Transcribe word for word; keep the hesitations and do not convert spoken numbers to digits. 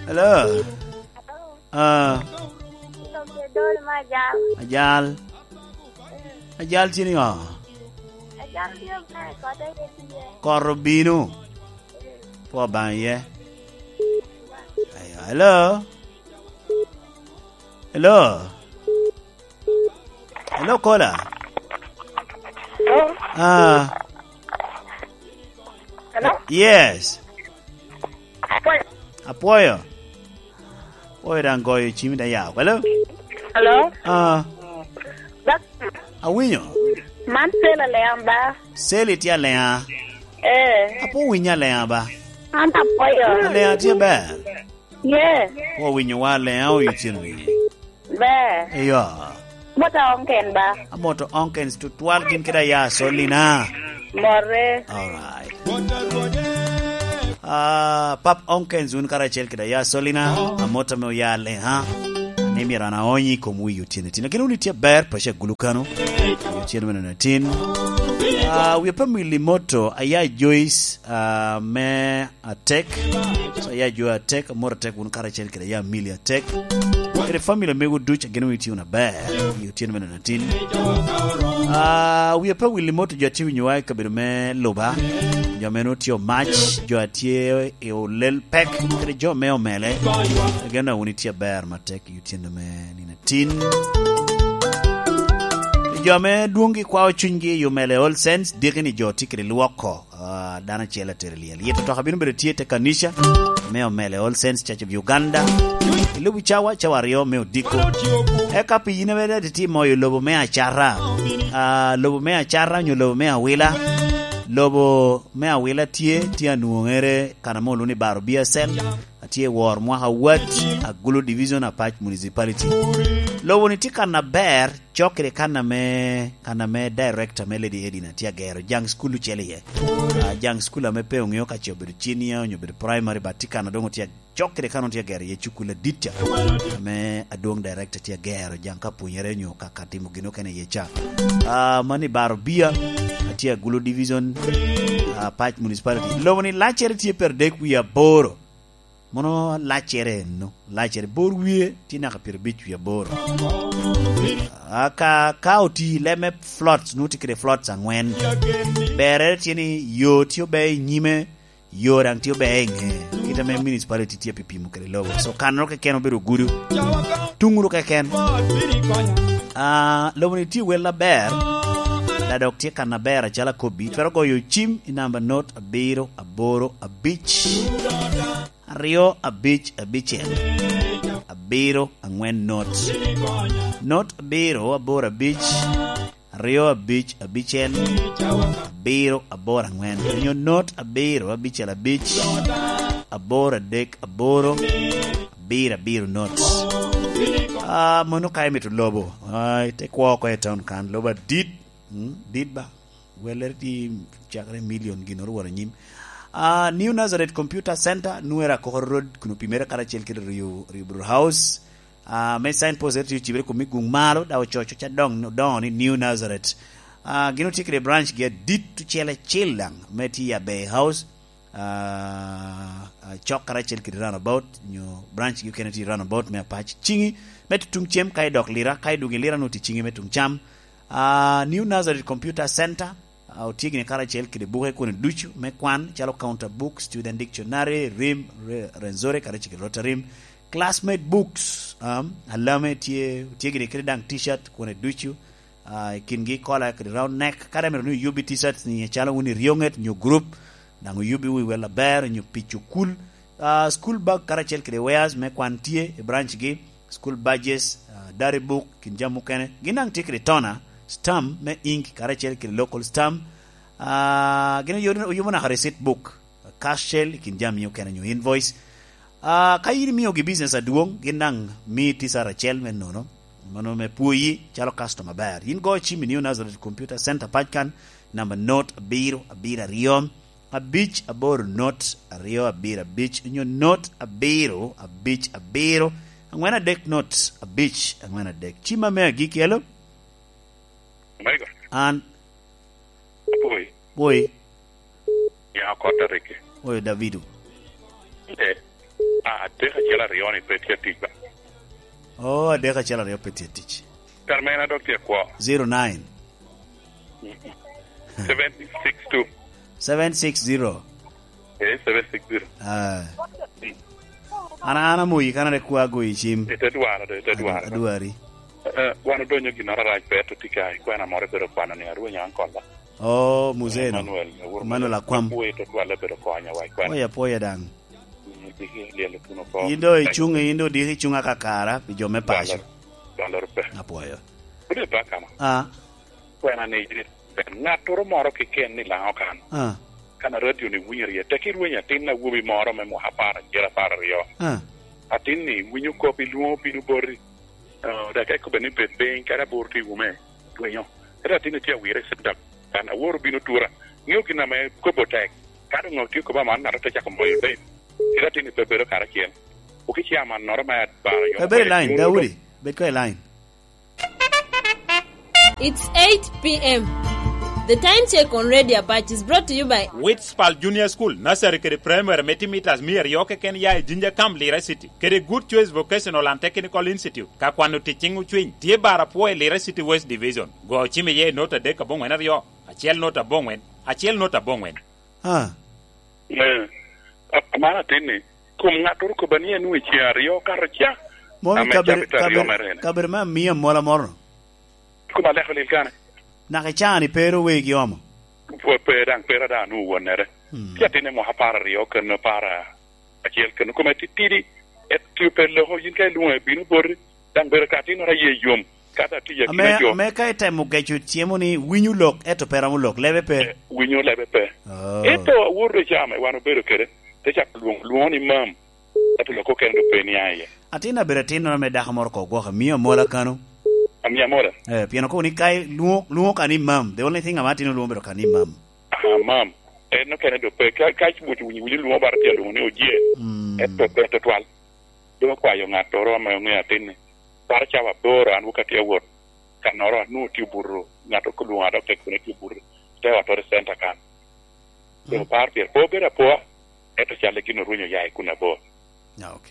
Hello. Ah. Ajal. Ajal tye niŋo? Ajal tye ber, kote tye. Kot obino. Pwo Obaŋa iye. Ayo, hello. Hello. Hello, caller. Hello? Ah. Hello? Yes. Apwoyo. Apwoyo. Apwoyo daŋ goyo cimi daŋ ya. Hello? Hello? Ah. Awinyo. Man Sel Alea ba? Sel itye Alea? Eh. Apwo winyo Alea ba? An apwoyo. Alea tye ber? Yes. Pwo winyo wa Alea oyo cen wiye. Ber. Eyo. Mota onken ba? Amoto onkens tutwal gin kede aya solina. More. Alright. Ah, Pap Onkens wun karacel kede aya solina. Amota me oya le, ha? Ni myero an aonyi i kom wi otyeno tin. Lakin wun itye ber, paco agulu kano. Wi otyeno me neno tin. Ah, wi apamili moto, aya Joyce, ah, me Atek. So, ya jo Atek, amor Atek, wun karacel kede ya Mili Atek. Kede family mego duc, ageno wun itye wunu aber i otyeno me nino atin. Ah, wie pe wil mot jo atye winyowa i kabedo me Luba, jo meno tye Omac, jo atye i Olel Pek, kede jo me Omele. Ageno wun itye aber matek i otyeno me nino atin. Jo ame dwoŋgi kwao cunygi i Omele All Saints, diki ni jo tye kede lwoko. Ah, dano acel atero lyel. Yet otoka bino bedo tye te kanica me Omele All Saints Church of Uganda. I lobo cawa, cawa aryo me odiko. Eka pi yin ame dati timo i lobo me Acara. Ah, lobo me Acara onyo lobo me Awila. Lobo me Awila tye, tye anwoŋere kan ame olwoŋo ni Baro Biacel. Atye i wor mwaka wat, Agulu Division, Apac Municipality. Lobo ni tye kan aber, cok kede kan ame, kan ame director me Lady Edina tye agero, jaŋ school ocel iye. Ah, jaŋ school ame pe oŋeo ka ce obedo junior onyo obedo primary, but tye kan adongo tye cok kede kan tye agero iye cukul adit ca. Ame adwong director tye agero, jaŋ ka pwonyere onyo ka, ka timo gin okene iye ca. Ah, mani Baro Bia, atye Agulu Division, ah, Apac Municipality. Lobo ni laccere tye per dek wie aboro. Mono laccere enno, laccere bor wie tye naka pyerabic wie aboro. A ka, ka oti leb me floats, nwoŋo tye kede floats aŋwen. Berre tye ni yo tye ober i nyime, yo daŋ tye ober i ŋe, kit ame municipality tye pi pimo kede lobo. So, kannoro keken obedo gudo. Tuŋ wunu keken. Ah, lobo ni tye wel aber, da dok tye kan aber acalo akobbi. Twero goyo cim i namba not abiro aboro abic. Aryo abic abicel, abiro aŋwen not. Not abiro aboro abic, aryo abic abicel, abiro aboro aŋwen. Onyo not abiro abicel abic, aboro adek aboro, abiro abiro not. Ah, mono ka imito lobo, ah, ite kwo oko i town kan, lobo adit, mm, dit ba. Wellere tye cakere milion ginnoro woro anyim. Ah, New Nazareth Computer Center, Nuera Kokoro Road, kun opimere karacel kede Rio, Rio Brew House. Ah, me signpost ere tye ocibere kun me guŋ malo, dok ococo ca dong, odongo ni New Nazareth. Ah, gin otye kede branch gi adit ocel acel daŋ, me tye i Abbey House. Ah, ah, cok karacel kede roundabout, nyo branch gi okene tye i roundabout me Apac. Ciŋi me tutuŋ cem ka idok Lira, ka idwogo i Lira nwoŋo tye ciŋi me tuŋ cam. Ah, New Nazareth Computer Center, ah, otye gini karacel kede buke koni ducu me kwan, calo Counter Book, Student Dictionary, Rim, Re-, Renzori, karacel kede Rotarim. Classmate Books, um, alame tye, tye gini kede daŋ T-shirt koni ducu, ah, i kingi kola kede round neck, kadi amito ni oyubbi T-shirts ni calo wun i Rioŋet nyo group, daŋ oyubbi wi wel aber nyo pi cukul. Ah, school bag karacel kede wares me kwan tye i branch gi. School badges, ah, diary book, kin jami mukene. Gin daŋ tye kede toner, stamp me ink, karacel kede local stamp. Ah, gin oyubo, oyubo naka receipt book, cash shell, kin jami okene nyo invoice. Ah, ka yin imiogi business adwoŋ, gin daŋ mii T-shirt acel me nono, mano me pwoyi calo customer aber. Yin go cim i New Nazareth Computer Center pac kan, namba not abiro abiro aryo, abic aboro not aryo abiro abic, onyo not abiro abic abiro, aŋwen adek not abic aŋwen adek. Cimma me agikki, hello? Omego. An. Apwoyi. Pwoyi. Ya oko tariki. Oyo Davido. Eh. Ah, adek acel aryo ni pe tye tic ba. Oh, adek acel aryo pe tye tic. Kar mene dok tye kwo. Zero nine. Seven six two. Seven six zero. Eh, seven six zero. Ah. An, an amoyi kan are kwa agoyi cim. Ite dwaro do, ite Adu-, dwaro. Adwari. Eh, wan odonyo ginnoro arac pe, to tika ikwena moro ibedo kwano ni arwenyo an kolla. Oh, muzeno. Emmanuel, Emmanuel Akwam. Kuwe to twale bedo konya wa ikwena. Poya, poya dang. Mm, diki liel tuno ko. In do icung, in do diki icung akakara pi jo me paco. Dwalor, dwalor pe. Apwoyo. Kude pa kama. Ah. Kwena ni, ŋattoro moro keken ni Laŋo kan. Ah. Kan a radio ni winyo rye, tek irwenyo atin awobi moro me mwaka apar acel, apar aryo. Ah. Atin ni winyo kop, ilwoŋo bino boti. Ah, dok ka ikobbe ni bed piny, kadi aboro tye i wume, rwenyo. Ento atin ni tye awire i center kan, aworo bino tura. Ŋeo gin ame kobbe otek. Ka doŋ otye kobbe aman, ŋato te cako moyo piny. Ento atin ni pe bedo karacel. Okica amannoro me abaro yo. Pe bed i line, Daudi, bed ko i line. It's eight p m. The time check on Radio Apac is brought to you by Witspal Junior School, Nursery kede Primary me timo mitas mia aryo keken ya i Jinja Camp, Lira City, kede Good Choice Vocational and Technical Institute. Ka kwano tic ciŋ ocwiny, tye bar apwo i Lira City West Division. Go ocim iye i nota adek aboŋwen aryo, acel nota aboŋwen, acel nota aboŋwen. Ah. Eh, a-, amano atin ni, kom ŋattoro kobba ni en wi ceng aryo kato ca. Mom i ame kabere, cabit aryo kabere, mere en. Kabere me amia mola moro. Kom aleko lil kane. Naka i caa-ni pe ru wegi omo? Pe, pe daŋ, pe daŋ anwoŋo wonnere. Hmm. Ci atin i mwaka apar aryo kene, apar acel kene. Kome titidi, et tio pe loko, yin ka ilwoŋo ebino boti, daŋ bedo ka atinnoro aye yom, ka daŋ tye akina jo. Ame ka itemo geco cemo ni winyo lok, ento pe romo lok, lebe pe. Eh, winyo lebe pe. Oh. Ento awoto i caa ame wan obedo kede, te cako lwoŋo, lwoŋo ni mam, ento lok okene dok pe nia iye. Atin abedo atinnoro me dako moro ko gwok, amio amola kano. Amio amola? Eh, pien okobo ni ka i-, lwoŋo, lwoŋo ka ni mam. The only thing ame atin olwoŋo bedo ka ni mam. Ah, mam. En okene dok pe, ka, ka ibuto winyo, winyo lwoŋo bara tye alwoŋo ni oje. Mm. Ento pe tutwal. Dok okwayo ŋattoro ame oŋeo atin-ni. Para cawa aboro an wok atye awot. Kannoro anwoŋo tye obuto, ŋat oko lwoŋo adok te kone tye obuto. Te otoro i center kan. Mm. Dok par pire. Pe obedo apoa, ento calle gin orwenyo oya i kun abor. Ah, ok.